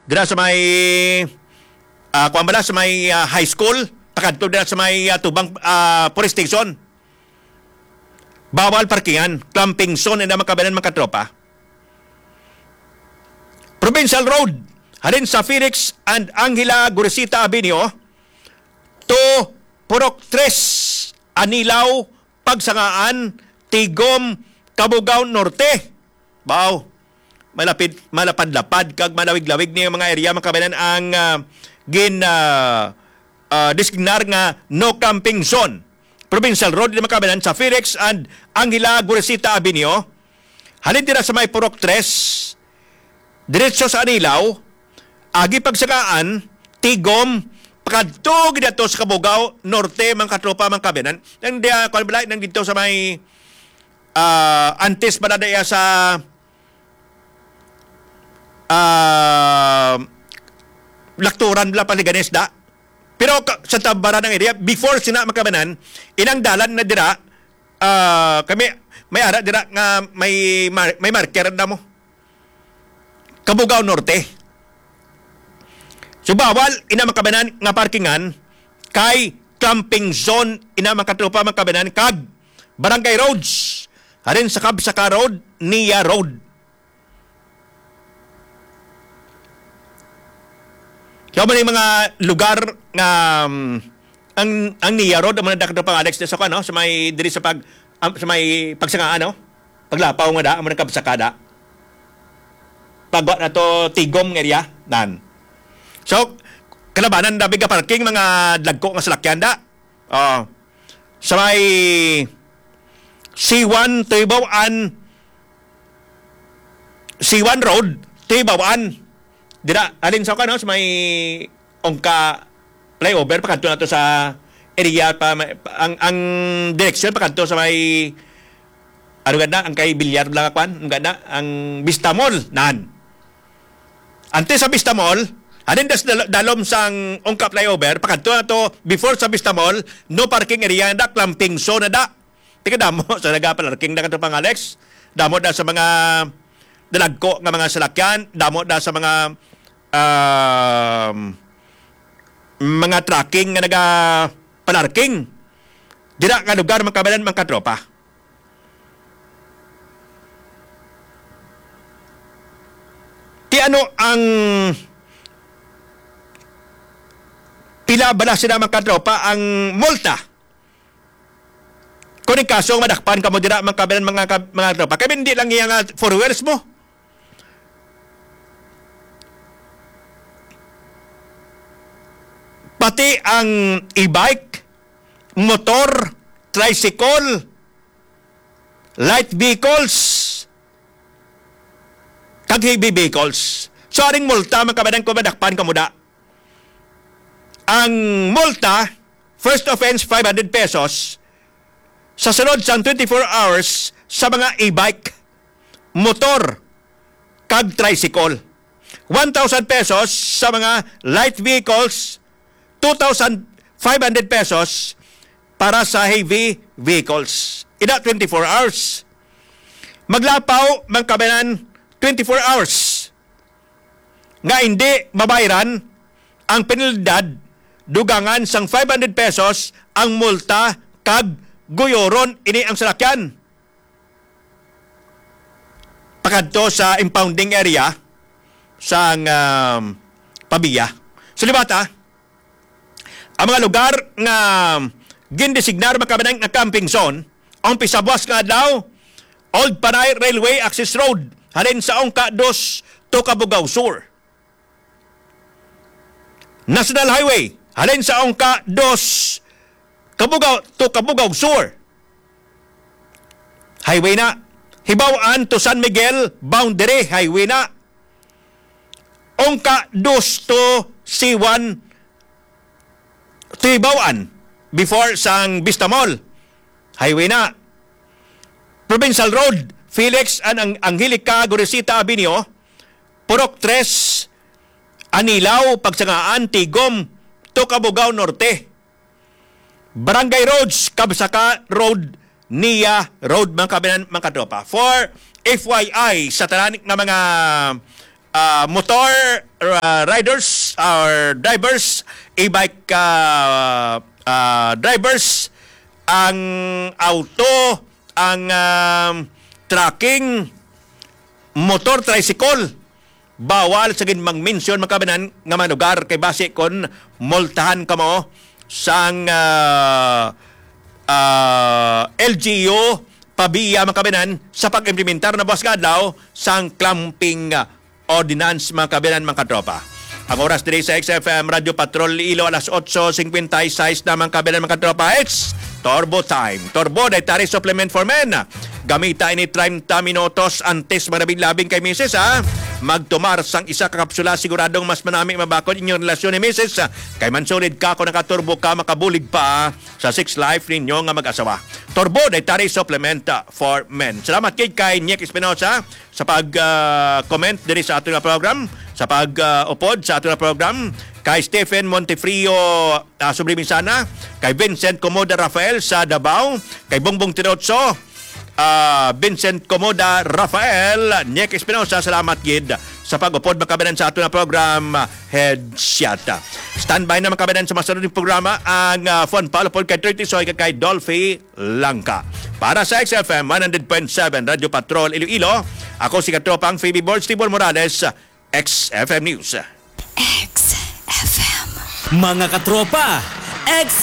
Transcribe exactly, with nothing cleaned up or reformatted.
Dira sa may, ah, kuwan bala, sa may, ah, high school, pakadto dira sa may, ah, Tubang, ah, Police Station. Bawal parkingan, clamping zone, ina, mga kabayan, mga katropa. Provincial Road, halin sa Felix and Angela Gorisita Avenue to Purok Tres, Anilao, Pagsangaan, Tigom, Cabugao Norte. Baw, malapit, malapad-lapad kag malawig-lawig ni mga area, mga kabayan, ang, ah, gin, ah, ah, designar nga no camping zone. Provincial Road, mga kabayan, sa Felix and Angela Gorisita Avenue. Halin dira sa may Purok Tres, diretso sa Anilao, agi Pagsangaan, Tigom, pakadto gid ato sa Cabugao Norte, mga katropa, mga kabayan. Nang diya, kuwan bala, nang dito sa may, ah, antes bala diya sa, ah, Lakturan bala, Paliganes da. Pero ka-, sa Tabaran ang area, before sina, mga kabayan, inang dalan na dira, ah, kami, may ara dira nga may mar-, may marker na mo. Cabugao Norte. So, bawal ina, mga kabayan, nga parkingan kay clamping zone ina, mga katropa, mga kabayan, kag barangay roads. Halin sa Kabsaka Road, Nia Road. Kaya mo yung mga lugar nga, um, ang, ang Nia Road, ang mga dakdo pang Alex, sa, ano, sa may, diri sa pag, um, sa may Pagsangaan, no? Paglapaw nga da, ang mga Kabsaka da. Pagwa na to, Tigom nga area, nan. So, kalabanan, dabi ka parking, mga dagko nga salakyan da. Oh. Sa may C one, Tuibawan, C one Road, Tuibawan. Dira, alin sa kano, sa may Ongka flyover, pakadto na to sa area pa, may, ang, ang direksyon pakadto sa may, ano ganda, ang kay Bilyar lang, kwan, ang ganda, ang Vista Mall, nan. Antes sa Vista Mall, halin das dal-, dalom sang Ongka flyover, pakadto na to, before sa Vista Mall, no parking area na da, clamping zone na da. Tika damo sa nagapalarking na kato pang Alex. Damo da sa mga dalagko nga mga salakyan, damo da sa mga, um, mga trucking nga nagapalarking. Dira nga lugar, mga kabayan, mga katropa. Ti ano ang pila bala sila, mga katropa, ang multa? Kung ang kaso, madakpan ka mo dira, mga kabayan, mga kab-, mga katropa. Kaya hindi lang iya nga four wheels mo. Pati ang e-bike, motor, tricycle, light vehicles, kag heavy vehicles. So, aring multa, mga kabayan, kung madakpan ka mo da. Ang multa, first offense, five hundred pesos. Sa sulod sang twenty-four hours, sa mga e-bike, motor, kag tricycle. One thousand pesos sa mga light vehicles, two thousand five hundred pesos para sa heavy vehicles. Ina, twenty-four hours. Maglapaw, mga kabayan, twenty-four hours nga hindi mabayran ang penalidad, dugangan sang five hundred pesos ang multa kag guyoron ini ang salakyan pakadto sa impounding area sang, um, Pavia. Sulibata, ang mga lugar nga gindesignar, mga kabayan, nga camping zone, ang pisabuas nga adlaw, Old Panay Railway Access Road, halin sa Ongka dos to Cabugao Sur. National Highway, halin sa Ongka dos, Cabugao to Cabugao Sur. Highway na. Hibaw-an to San Miguel, boundary, highway na. Ongka dos to C one, Tuibawan, before sang Vista Mall. Highway na. Provincial Road, Felix and Ang-, Angelica Gorisita Avenue, Purok Tres, Anilao, Pagsangaan, Tigom, to Cabugao Norte. Barangay Roads, Kabsaka Road, Nia Road, mga kabayan, mga katropa. For F Y I, sa tanan nga mga ah, motor, ah, riders or drivers, e-bike, ah, ah, drivers, ang auto, ang, ah, trucking, motor, tricycle. Bawal sa gid mag-mention, mga kababayan, nga mga lugar kay basi kon multahan kamo sang, ah, ah, L G U pabiya, mga kababayan, sa pag-implementar na buwas nga adlaw sang clamping, ah, ordinance, mga kababayan, mga katropa. Ang oras diri sa X F M Radyo Patrol Iloilo, alas otso cincuenta y seis na, mga kababayan, mga katropa. It's Turbo Time. Turbo, dietary supplement for men. Gamita ini treinta minutos antes manabing-labing kay misis, ha. Magtumar sang isa ka kapsula, siguradong mas manami mabakod inyong relasyon ni misis, ha. Kay mansulid ka kung nakaturbo ka, makabulig pa sa sex life ninyo nga mag-asawa. Turbo, dietary supplement, ah, for men. Salamat gid kay Nick Espinosa sa pag, ah, comment diri sa aton nga program, sa pag, ah, upod sa aton nga program, kay Stephen Montefrio, ah, Sublimisana, kay Vincent Comoda Rafael sa Davao, kay Bongbong Tirotso, ah, Vincent Comoda Rafael, Nick Espinosa, salamat gid sa pag-upod, mga kababayan, sa aton nga program, ah, Headshot. Standby na, mga kababayan, sa masunod nga programa ang, ah, Fun Pal upod kay Thirty Soy kag kay Dolphy Langka. Para sa X F M one hundred point seven Radyo Patrol Iloilo, ako si katropang Phoebe Borg, Tibor Morales, X F M News. X F M. Mga katropa, X